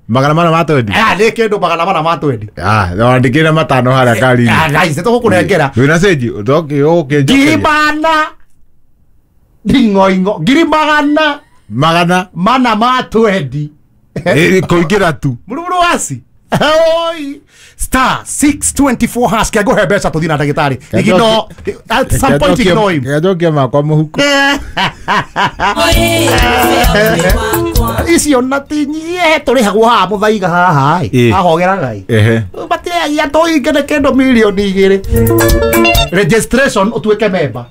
400 ma twendi. Ah, nĩ kĩndũ 400 ma twendi. Ah, wandĩkĩre 5 harĩa kari-inĩ. Ah, guys, nĩtũgũkũnengera. Wĩna cĩnji ũkĩnjokeria. 400 nding'oing'o 400 Magana mana ma twendi. Kũingĩra tu. Murumuru wasi. Oi. Star 624 hash kĩa ngũhe mbeca tũthiĩ na ndagĩtarĩ. Ignore at some point ignore him. Njokie makwa mũhuko. Icio na ti nyie tũrĩhagwo haha mũthaiga haha ĩ. Ahogera Ngai. Matirehagia tũinge nĩ kĩndũ 2 million. Registration ũtuĩke member.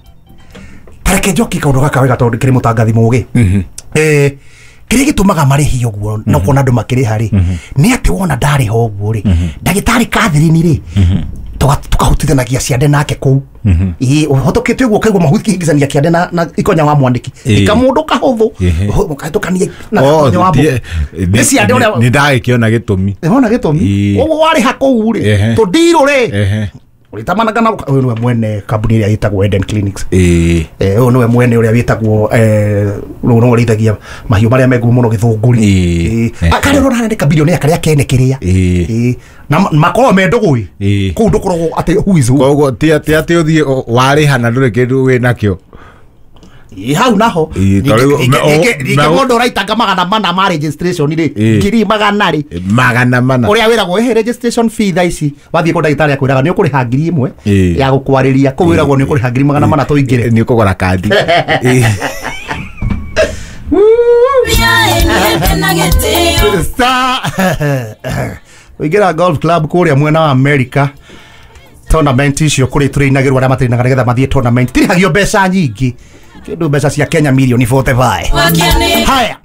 Tareke njokie kaũndũ gaka wega tondũ kĩrĩ mũtangathi mũgĩ. Kĩrĩa gĩtũmaga marĩhi ũguo na ũkona andũ makĩrĩha rĩ, nĩ atĩ wona ndarĩha ũguo rĩ, ndagĩtarĩ Catherine rĩ, tũkahutithanagia ciande nake kũu. Ĩĩ, ũhĩtũkĩte ũguo ũkaigua mahingicania kĩande na ikonya wa mwandĩki. Ika mũndũ kahũthũ ũkahĩtũkania na ikonya wa mũndũ. Nĩ ciande ũrĩa Nĩ ndagĩkĩona gĩtũmi. Wona gĩtũmi. Ũguo warĩha kũu rĩ, tũndirũ rĩ, ũrĩtamanaga na ũyũ nĩwe mwene kambuni ĩrĩa ĩtagwo Eden Clinics. Ũyũ nĩwe mwene ũrĩa wĩtagwo rũu nĩwe ũrĩithagia mahiũ marĩa me ngumo mũno Gĩthũngũri. Karĩa ũrona harĩa nĩ kabirionea karĩa kene kĩrĩa. Na makoragwo me ndũgũ ĩ. Kũu ndũkoragwo atĩ who is who. Koguo ti atĩ ũthiĩ warĩha na ndũrĩ kĩndũ wĩ nakĩo. Ĩ, hau naho. Ĩ, ta rĩu Ningĩ mũndũ ũraitanga 400 ma registration rĩ, 400 rĩ, 400. Ũrĩa wĩragwo ĩhĩ registration fee thaa ici wathiĩ kũ ndagĩtarĩ akwĩraga nĩ ũkũrĩha 1000 ya gũkwarĩria, kũu wĩragwo nĩ ũkũrĩha 400 tũingĩre. Nĩ ũkũgũra kandi. Star ũingĩra golf club kũrĩa mwena wa America, tournament icio kũrĩ tũrĩinagĩrwo arĩa matĩrinaga nĩgetha mathiĩ tournament tirĩhagio mbeca nyingĩ, kĩndũ mbeca cia Kenya mirioni 45. Haya,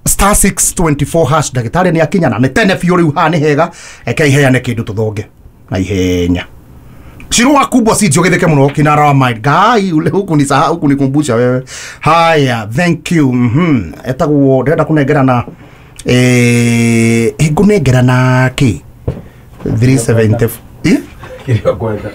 star 624 hash, ndagĩtarĩ nĩ akinya na nĩ tene biũ rĩu. Haha nĩ hega, eke iheane kĩndũ tũthonge na ihenya. Shirua kubwa si jogetheke muno kinara wa mind gai ule huku ni sahau huku nikumbusha wewe. Haya, thank you. Etagwo ndĩrenda kũnengerana, ngũnengerana kĩ 370. Kĩrĩa ũkwenda.